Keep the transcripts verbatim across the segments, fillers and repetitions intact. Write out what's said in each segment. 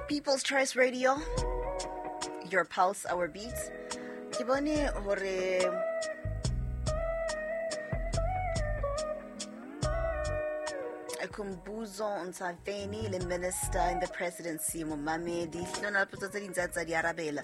People's Choice Radio, your pulse, our beats. Ke bone hore Khumbuzo Ntshavheni le minister in the presidency momamedi hlona le potso tse ding tsa tsa di arabela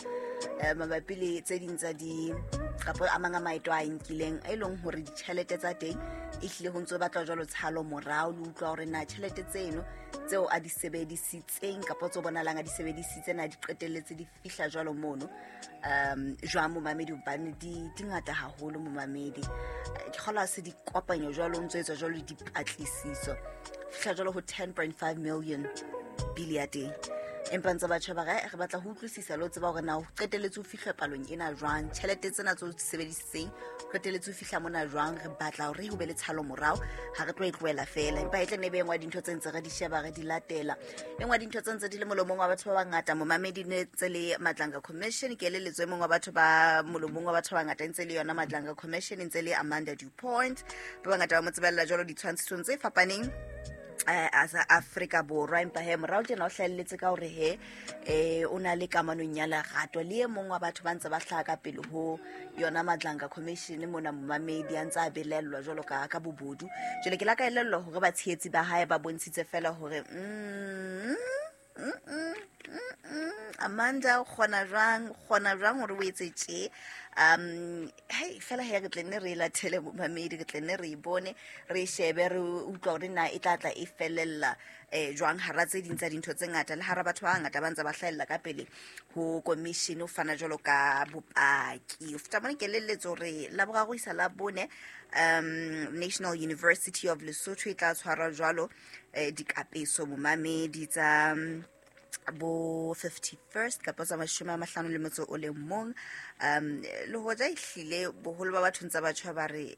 eh mabapi le tse ding tsa di kapa a mang a maeto a nkileng e leng hore ditjhelete tsa teng e hlile ho ntso batla jwalo tshalo morao le utlwa hore na tjhelete tseno tseo a di sebedisitseng kapa tso bonalang a di sebedisitse na di qetelletse di fihla jwalo mono um jwang momamedi hobane di di ngata haholo momamedi ke kgola se di kopanyo jwalo ntso etswa jwalo dipatlisiso fihla jwalo ho ten point five million bili ya teng empa ntse batjha ba re re batla ho utlwisisa le ho tseba hore na ho qetelletse ho fihla palong ena jwang tjhelete tsena tseo di sebedisitseng qetelletse ho fihla mona jwang re batla hore ho be le tshalo morao ha re tlo e tlohela fela empa e tle ne be engwa dintho tse ntse re di sheba re di latela engwa dintho tse ntse di le molomong wa batho ba bangata momamedi ne tse le Madlanga Commission ke eleletswe mongwe wa batho ba molomong wa batho ba bangata ntse le yona Madlanga Commission ntse le Amanda Dupont ba bangata ba mo tsebella jwalo ditshwantshisong tse fapaneng eh asa Afrika Borwa empa he morao tjena o hlahelletse ka hore he eh o na le kamanong ya lerato le e mong wa batho ba ntse ba hlaha ka pele ho yona Madlanga Commission mona momamedi a ntse a belellwa jwalo ka ka bobodu jwale ke la ka elellwa hore batshehetsi ba hae ba bontshitse fela hore mm mm mm Amanda o kgona jwang o kgona jwang hore o etse tje um hey fela he re tle nne re latele momamedi re tle nne re bone re shebe re utlwa hore na e tla tla e felella eh jwang hara tse ding tsa dintho tse ngata le hara batho ba bangata ba ntse ba hlahella ka pele ho commission o fana jwalo ka bopaki o feta mona ke elelletse hore la boraro isa la bone um National University of Lesotho e tla tshwarwa jwalo eh dikapeso momamedi tsa bo fifty-first kapa tsa mashome a mahlano le motso o le mong um le hoja ehlile boholo ba batho ntse ba tjha ba re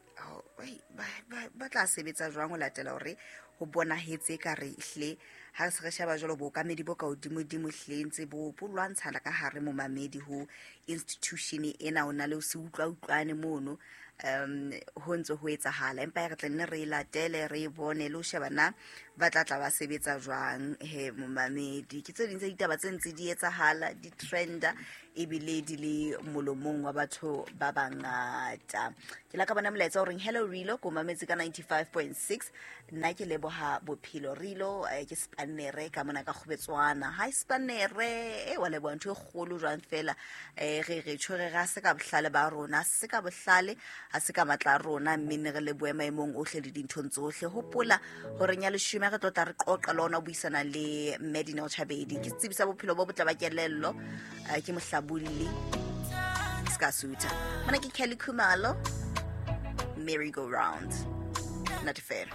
ba tla sebetsa jwang ho latela hore ho bonahetse ka re ehlile ha se re sheba jwalo bookamedi bo ka hodimodimo ehlile ntse bo bo lwantshana ka hare momamedi ho institution ena o na le ho se utlwa utlwane mono um ho ntse ho etsahala empa re tla nne re latele re bone le ho sheba na ba tla tla ba sebetsa jwang he momamedi ke tse ding tsa ditaba tse ntse di etsahala di trenda ebile di le molomong wa batho ba bangata ke la ka bona molaetsa o reng hello Rilo ko mametse ka ninety-five point six nna ke leboha bophelo Rilo ke Spanere ka mona ka Kgobetswana hi Spanere e wa leboha ntho e kgolo jwang fela eh re re tshwere ra se ka bohlale ba rona se ka bohlale ha se ka matla rona mme ne re le boemaemong ohle le dinthong tsohle hopola hore nya leshome re tlo tla re qoqa le ona buisana le Medina Chabedi ke tsebisa bophelo bo botle ba kelello ke mohlabulli ska suta mona ke Kelly Khumalo merry go round not fair.